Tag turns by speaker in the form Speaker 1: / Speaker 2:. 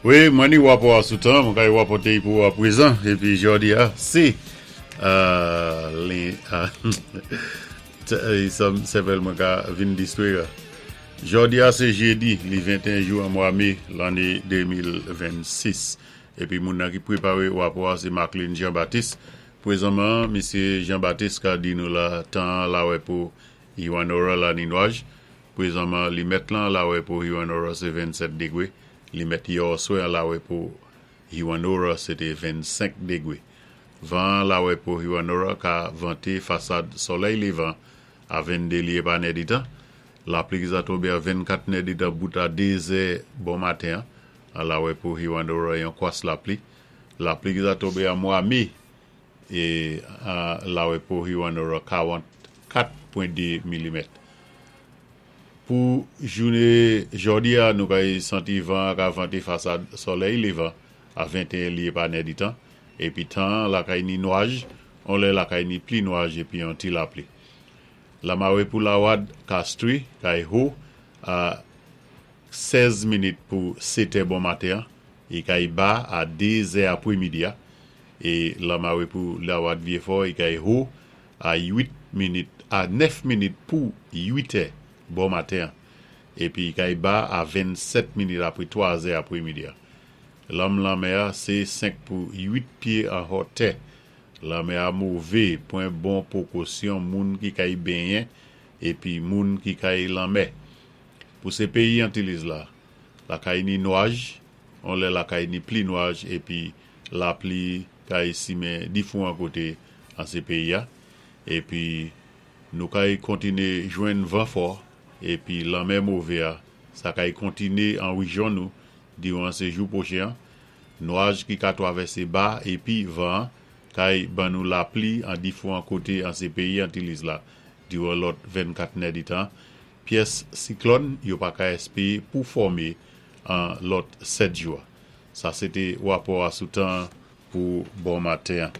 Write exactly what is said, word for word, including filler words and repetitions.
Speaker 1: Wi, mwen ni wapò a sou tan, mwen kay wapòté pou a pwézan, épi jòdi a, sé, euh, len, sèvèl mwen ka vin distwé. Jòdi a sé jédi, li venteyen jou an mwa mé, lanné de mil vennsis. Épi moun nan ki pwéparé wapò a, sé Marklin Jean-Baptiste. Pwézanman, Misyé Jean-Baptiste ka di nou la tan lawè pou Hewanorra la ni nwaj. Pwézanman, li mèt lan lawè pou Hewanorra sé vennsèt dégwé. Li mèt yèoswè lawè pou Hewanorra, sé té vennsenk dégwé. Van lawè pou Hewanorra ka vanté fasad solèy lévan a venndé lyé pa nèditan. Lapli ki za tonbé a vennkat nèditan bout a dézè bon maten an lawè pou Hewanorra, yon kwas lapli. Lapli ki za tonbé an mwa mé é lawè pou Hewanorra, karannkat pwen dé milimèt. Pou jouné jòdi a, nou kay santi van ka vanté fasad solèy lévan a venteyen lyé pa nèditan. Épi tan lakay ni nwaj, on lè lakay ni pli nwaj épi yon ti lapli. Lamawé pou Lawad Castries kay ho a sèz minit pou sétè bon maten é kay ba a dézè apwémidi a. É lamawé pou Lawad Vyéfò i kay ho a uit minit a nèf minit pou uitè bon maten épi kay ba a vennsèt minit apwé twazè apwémidi a. Lanm lanmè a sé senk pou uit pyé an hotè. Lanmè a mové, pwan bon pwékosyon moun ki kay benyen épi moun ki kay lanmè. Pou sé péyi Antilles la, lakay ni nwaj, on lè lakay ni pli nwaj épi lapli kay simen difouwan koté an sé péyi a. Épi nou kay kontiné jwenn van fò épi lanmè mové a, sa kay kontiné an wéjyon nou diwan sé jou pwochen. Nwaj ki ka twavèsé ba épi van kay ban nou lapli an difouwan koté an sé péyi Antilles la diwan lòt vennkat nèditan. Pyès siklòn yo pa ka èspéwé pou fòmé an lòt sèt jou. Sa sé té wapò a sou tan pou bon maten.